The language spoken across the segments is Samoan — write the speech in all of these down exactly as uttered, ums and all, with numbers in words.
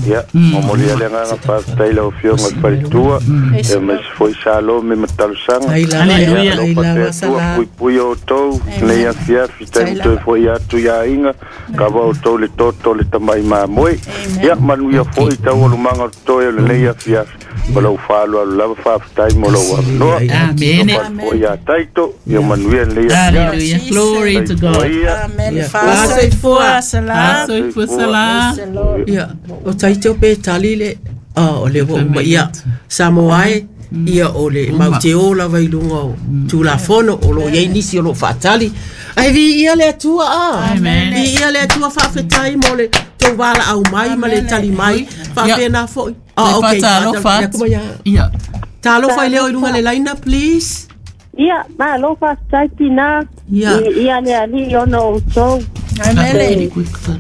Ia, momoli ai le agaga faafetai i lau Afioga i le faletua, ia aemaise foi Salome ma Talosaga. Tai lava, Ia tai alofa lava te Atua Sala. Puipui outou lenei afiafi, taimi toe foi atu i aiga, kava outou le toto o le tamai mamoe. Ia manuia foi taualumaga o totoe o lenei afiafi. Ma lou faaaloalo lava, faafetai mo lou avanoa. Amene. Foi ia Taito, ia manuia lenei afiafi. Hallelujah. Glory to God. Ia. Amen. Yeah. Faasoifua Sala. Soifua Sala. Ia, o Taito pe tali le ah, o le ua uma ia Samoa e, ia o le mau te o lava i luga o Tulafono o loo iai nisi o loo faatali. Ae viia le Atua a. Amen. Viia le Atua, faafetai mo le tou valaau mai ma le tali mai. Faapena foi. Ah, okay. Faatalofa Ia, atu. kuma ia. Ia. Talofa i leo i luga le laina, please. Ia, malo faafetai tina. Ia. I ia le Alii ona outou. Amen.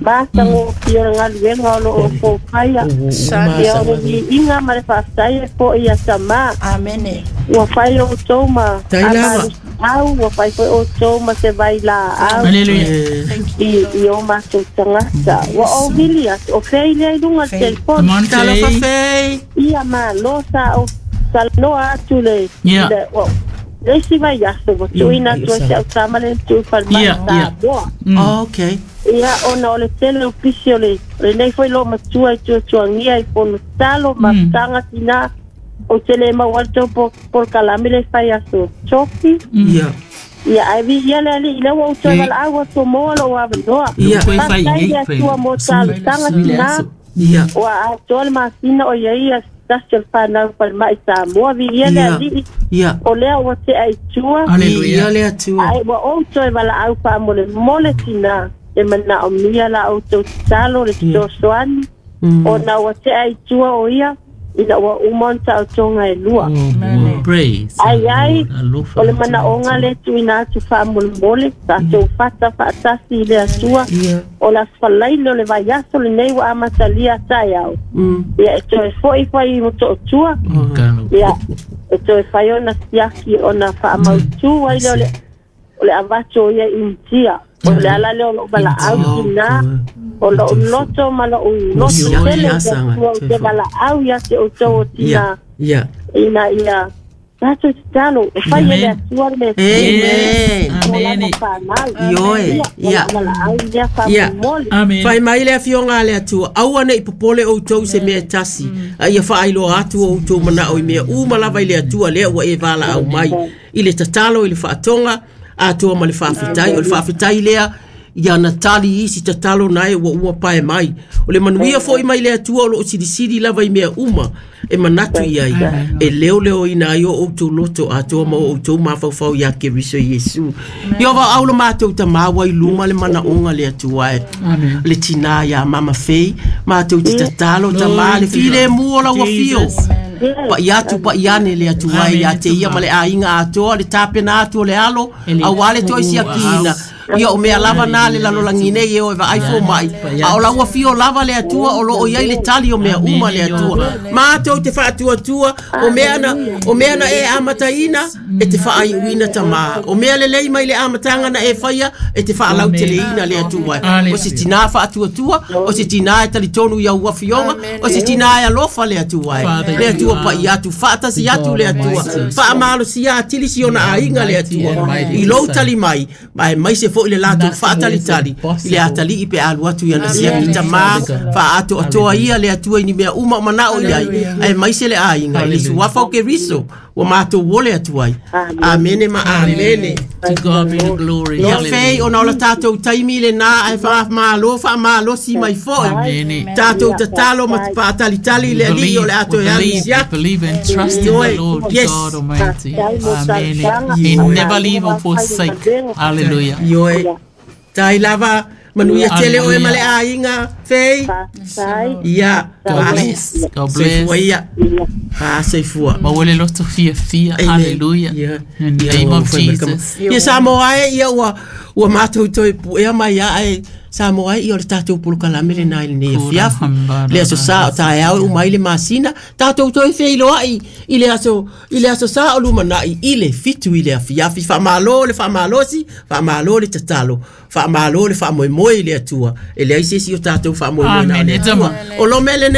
Matagofie o le galuega o loo outou faia. Ia o le viiga ma le faafetai e fo'i ia tamā. Amen. Ua fai outou ma Tai lava. au, ua fai foi outou ma se vailaau Hallelujah. Thank you. i i o matou tagata. Ua ou vili atu, o fei lea i luga le telefoni. Come on, Talofa Faye. Fei. Ia malo sa ou talanoa atu le Ia. le o le isi vaiaso ua tuuina atu ai si au tama le tu falemai Ia, ia. Samoa. Mm. Oh, okay. Ia ona o le tele o pisi o le o lenei foi loo matua i tuatuagia i fonotalo ma Mm. taga tina ou te le maua le tou po- polokalame le fai aso tofi. Ia. Ia ae viia le Alii lea ua ou toe Eh. valaau atu moa lou avanoa. Ia. Koe fai Faafetai nei, le fai. Atua mo talosaga tina. Ia. Ua atoa le masina o iai ia tasi o le fanau falemai Samoa. Viia le Ia. Alii Ia. o lea ua tea i tua. Hallelujah. Ia le Atua. Ae ua ou toe valaau faamolemole tina e manaomia la outou tatalo le fesoasoani Mm. ona ua tea i tua o ia ina ua uma ona taotoga e lua. Oh, praise. Ai ai, the Lord. Alofa o le atu. manaoga le tuuina atu faamolemole tatou fata faatasi i le Atua Ia. o le aso falaile o le vaiaso lenei ua amatalia taeao. Mm. Ia e toe fo'i fai i Motootua. Kalo. Ia e toe fai ona siaki ona faamautū ai lea o le o le avatu o ia Initia. O le ala lea o lou valaau tina o lou loto ma lou loto Siaki tele i le asaga, Atua ou te valaau ia te outou o Ia. tina Ia. ina ia tatou tatalo e fai e le Atua le mea Amen. Amen. fanau. Ioe. Ia. Valaau lea Ia. faamolemole. Amen. Fai mai le afioga a le Atua, aua nei popole outou i se mea e tasi, a ia faailoa atu o outou manao i mea uma lava i le Atua lea ua e valaau mai. I le tatalo, i le faatoga, atoa ma le faafetai. O le faafetai lea, ia na tali isi tatalo na e ua uma pae mai. O le manuia foi mai le Atua o loo silisili lava i mea uma e manatu i ai. E leoleoina ai o outou loto atoa ma o outou mafaufau ia Keriso Iesu. Ia va au le matou tamā ua i luma le manaoga le Atua e. Amen. Le tinā iā Mama Fei, matou te tatalo tamā le filemu o lau afio. Jesus. Pa'i atu pa'i ane le Atua e ia te ia ma le aiga atoa le tapena atu o le alo auā le toe siakiina. Ia o mea lava na le lalolagi nei e o e vaai fomaʻi. A o lau afio lava le Atua o loo iai le tali o mea uma le Atua. Matou te faatuatua o mea na o mea na e amataina e te faaiuina tamā. O mea lelei mai le amataga na e faia e te faalauteleina le Atua. O se tinā faatuatua, o se tinā e talitonu i au afioga, o se tinā e alofa le Atua e. Father, Le you Atua are pa'i atu faatasi atu le Atua. Almighty. Faamalosia atili si ona aiga le Atua. Mighty I lou Son. tali mai, ma e maise foi le latou Nothing is faatalitali i le impossible. atalii pe alu atu i ana siaki Amen. tamā faaatoatoa ia le Atua i ni mea uma o manao i ai aemaise le aiga i le Hallelujah. suafa o Keriso ua matou ole atu ai. Amene ma amene. To God be the glory. Ia Fei, Hallelujah. ona o le tatou taimi lenā ae faamalo faamalosi mai foi. Amen. Tatou tatalo ma faatalitali i le Alii o Believe, le we ato e alu i believe, we siaki. believe and trust in the Ioe. Lord Yes. God Almighty. Amen. Amen. He never leave or forsake. Hallelujah. Ioe. Tai lava manuia tele oe ma le aiga Fei. Faafetai. Ia. God bless. God Soifua bless. ia. Faasoifua. Maua le loto fiafia. Amen. Hallelujah. Ia. In the Ia, name ua of fai mai kama. Jesus. Ia Samoa e ia ua ua matou toe puea mai ia ae Samoa e ia o le tatou polokalame lenā i lenei Kura afiafi. hamba Le aso sa o taeao e uma ai le masina, tatou toe feiloai i le aso i le aso sa o lumanai i le fitu i le afiafi. Faamalo le faamalosi, faamalo le tatalo, faamalo le faamoemoe i le Atua. E leai se isi o tatou faamoemoe na o Amen. le Atua. O lome lenei